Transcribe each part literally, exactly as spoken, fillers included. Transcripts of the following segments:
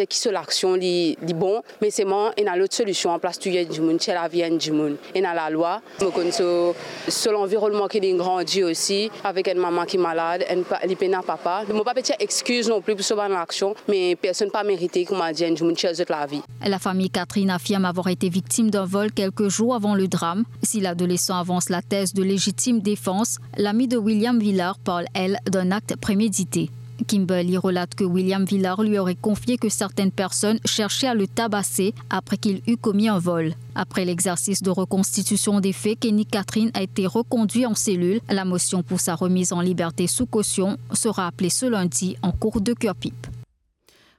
Ki so laksion li, li bon, me selman ena lot solision anplas touy enn dimoun, tir lavi enn dimoun. Ena lalwa, mo konn so, so lanvironnman ki li grandi osi, avek enn mama ki malad, enn pa, li pena papa. Mo pa pe tir exkiz non pli pou so bann laksion, me personn pa merite, kouma dir, enn dimoun tir zot lavi. La famille Catherine affirme avoir été victime d'un vol quelques jours avant le drame. Si l'adolescent avance la thèse de légitime défense, l'amie de William Villard parle, elle, d'un acte prémédité. Kimberly relate que William Villard lui aurait confié que certaines personnes cherchaient à le tabasser après qu'il eut commis un vol. Après l'exercice de reconstitution des faits, Kenny Catherine a été reconduit en cellule. La motion pour sa remise en liberté sous caution sera appelée ce lundi en cour de Curepipe.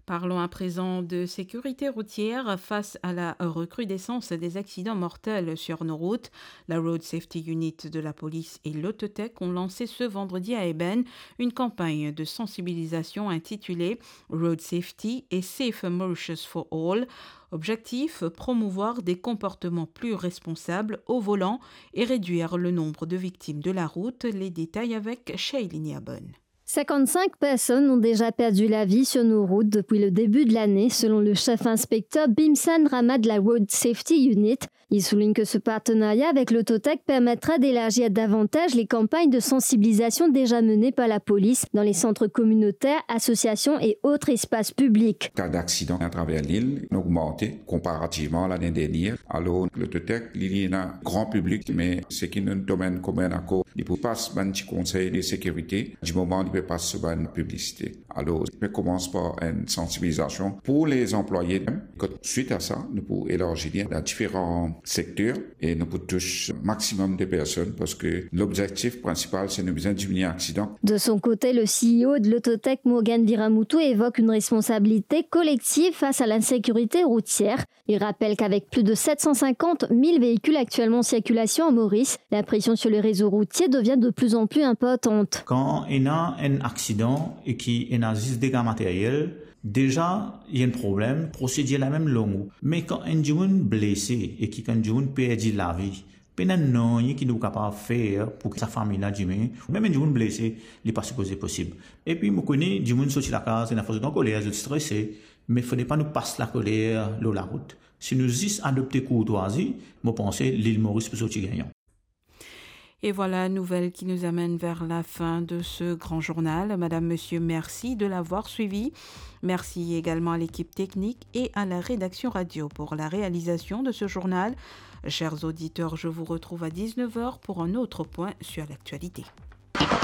Parlons à présent de sécurité routière. Face à la recrudescence des accidents mortels sur nos routes, la Road Safety Unit de la police et l'Autotech ont lancé ce vendredi à Eben une campagne de sensibilisation intitulée Road Safety et Safer Mauritius for All. Objectif, promouvoir des comportements plus responsables au volant et réduire le nombre de victimes de la route. Les détails avec Shailini Abon. Cinquante-cinq personnes ont déjà perdu la vie sur nos routes depuis le début de l'année, selon le chef inspecteur Bimsan Rama de la Road Safety Unit. Il souligne que ce partenariat avec l'Autotech permettra d'élargir davantage les campagnes de sensibilisation déjà menées par la police dans les centres communautaires, associations et autres espaces publics. Ka daksidan atraver lil inn ogmante konparativman lane dernier. Alor, l'Autotech, li, li ena gran piblik, me seki nou domenn komin ankor, li pou pas bann ti konsey de sekirite, di moman li pe pas so bann piblisite. Alor, nou pe koumans par enn sansibilizasion pou lezanplwaye mem. Kot swit a sa, nou pou elarzi li dan diferan sekter e nou pou tous maximum de personn, parski lobzektif prinsipal, se nou bizin diminie aksidan. De son côté, le C E O de l'Autotech, Morgan Viramutu, évoque une responsabilité collective face à l'insécurité routière. Il rappelle qu'avec plus de sept cent cinquante mille véhicules actuellement en circulation à Maurice, la pression sur le réseau routier devient de plus en plus importante. Kan ena enn aksidan e ki ena zis dega materyel, deza, li enn problem, prosedir la mem long. Me kan enn dimoun blese e ki kan enn dimoun perdi lavi, pena nanye ki nou kapav fer pou ki sa fami la dime, mem enn dimoun blese, li pa sipoze posib. Epi mo kone dimoun sorti lakaz, ena fwa zot ankoler, zot strese, me fode pa nou pas lakoler lor larout. Si nou zis adopte kourtwazi, mo panse Lil Moris pou sorti gagnan. Et voilà, nouvelle qui nous amène vers la fin de ce grand journal. Madame, monsieur, merci de l'avoir suivi. Merci également à l'équipe technique et à la rédaction radio pour la réalisation de ce journal. Chers auditeurs, je vous retrouve à dix-neuf heures pour un autre point sur l'actualité.